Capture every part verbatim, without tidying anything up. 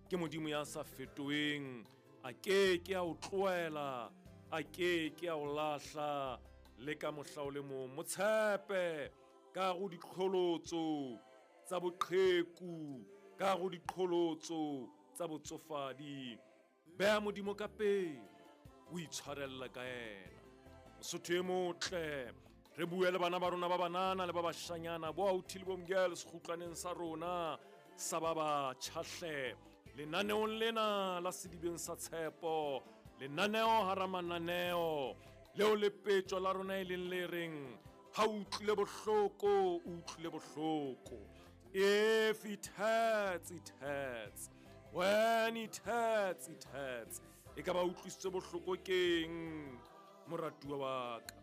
Ke Modimo ya sa fetoheng, a ke ke a o tlohela, a ke ke a o lahla le ka mohla o le mong. Mo tshepe ka go diqholotso tsa boqheku, ka go diqholotso tsa botsofadi. Beha Modimo ka pele, o itshwarella ka yena. Mosotho e motle, re bue le bana ba rona ba banana le ba bashanyana, bo authi le bo mgele sekgutlwaneng sa rona sa ba batjha hle. Lenaneong lena la Sedibeng sa Tshepo, lenaneo hara mananeo leo lepetjo la rona e leng le reng ha o utlwile bohloko, o utlwile bohloko. If it hurts, it hurts. When it hurts, it hurts. E ka ba utlwisitse bohloko keng, moratuwa wa ka?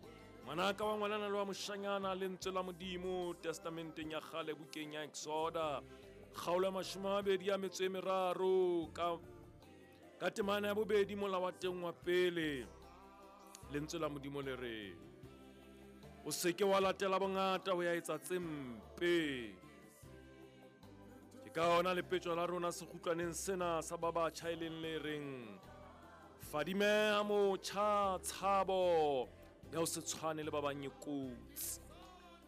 Ngwanaka wa ngwanana le wa moshanyana, lentswe la Modimo testamenteng ya kgale bukeng ya Exoda, kgaolo ya mashome a mabedi a metso e meraro ka, ka temana ya bobedi mola wa teng wa pele. Lentswe la Modimo le re, o se ke wa latela bongata ho ya etsa tse mpe. Ke ka ona lepetjo la rona sekgutlwaneng sena sa ba batjha e leng le reng, fadimeha motjha, tshabo ya ho se tshwane le ba bang e kotsi.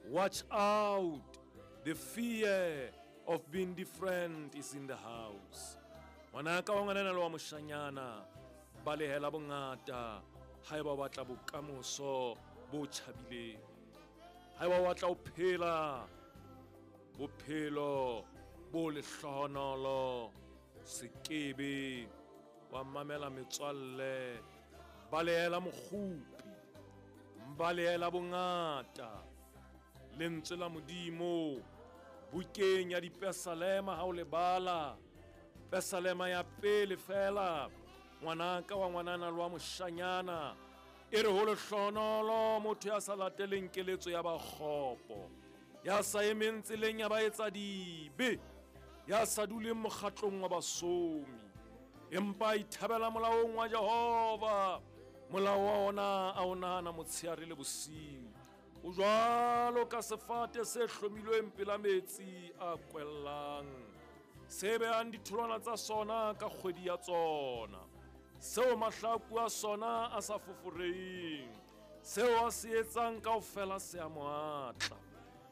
Watch out, the fear of being different is in the house. Ngwanaka wa ngwanana le wa moshanyana, balehela bongata haeba o batla bokamoso bo tjhabileng. Haeba o batla ho phela bophelo bo lehlohonolo, sekebe wa mamela metswalle, balehela mokgupi, balehela bongata. Lentswe la Modimo bukeng ya Dipesalema, ha o le bala Pesalema ya pele fela, ngwanaka wa ngwanana le wa moshanyana, e re ho lehlohonolo motho ya sa lateleng keletso ya ba kgopo, ya sa emeng tseleng ya ba etsa dibe, ya sa duleng mokgatlong wa basomi, empa a ithabela molaong wa Jehova. Molao wa ona a o nahana motshehare le bosiu. O jwalo ka sefate se hlomilweng pela metsi a kwellang, se behang ditholwana tsa sona ka kgwedi ya tsona, seo mahlaku a sona a sa foforeheng, seo a se etsang kaofela se a mo atla.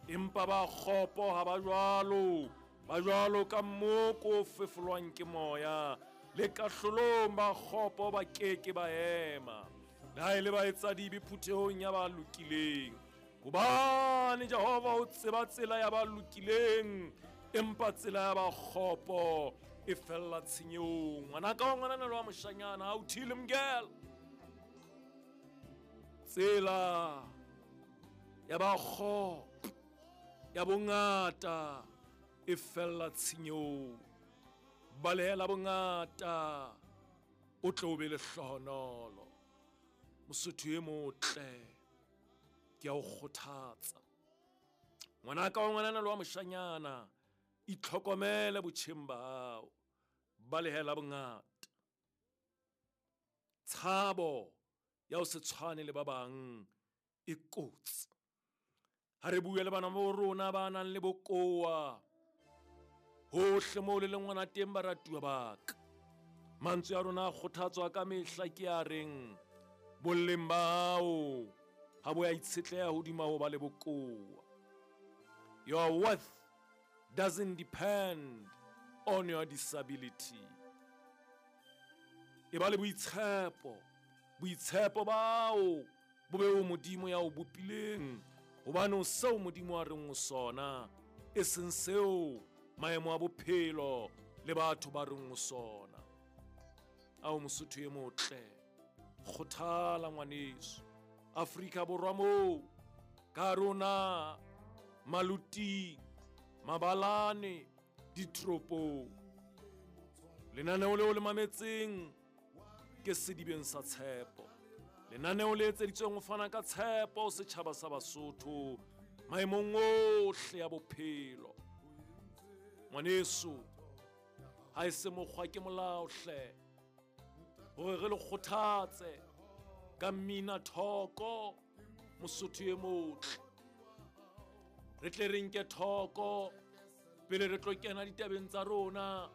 Empa ba kgopo ha ba jwalo, ba jwalo ka mmoko o fefolwang ke moya. Le kahlolong ba kgopo ba keke ba ema, le ha e le ba etsa dibe phuthehong ya ba lokileng. Hobane Jehova o tseba tsela ya ba lokileng, empa tsela ya ba kgopo e fella tshenyehong. Ngwanaka wa ngwanana le wa moshanyana, ha o thile mgela. Tsela ya ba kgopo ya bongata e fella tshenyehong. Balehela bongata, o tle o be lehlohonolo. Mosotho e motle, ke a o kgothatsa. Ngwanaka wa ngwanana le wa moshanyana, itlhokomele botjheng ba hao. Balehela bongata. Tshabo ya ho se tshwane le ba bang e kotsi. Ha re bue le bana ba rona ba nang le bokowa, hohle moo le leng ngwana teng, baratuwa ba ka. Mantswe a rona a kgothatswa ka mehla ke a reng, boleng ba hao ha bo ya itshetleha hodima ho ba le bokowa. Your worth doesn't depend on your disability. E ba le boitshepo, boitshepo bao bo be ho Modimo ya o bopileng, hobane o seo Modimo a reng o sona, e seng seo maemo a bophelo le batho ba reng o sona. Ao Mosotho e motle, kgothala ngwaneso. Afrika Borwa moo, ka rona maluting, mabalane, ditoropong. Lenaneo leo le mametseng ke Sedibeng sa Tshepo. Lenaneo le etseditsweng ho fana ka tshepo setjhaba sa Basotho maemong ohle a bophelo. Ngwaneso, ha e se mokgwa ke molao hle, hore re le kgothatse ka mmina thoko Mosotho e motle. Re tle re nke thoko pele re tlo kena ditabeng tsa rona.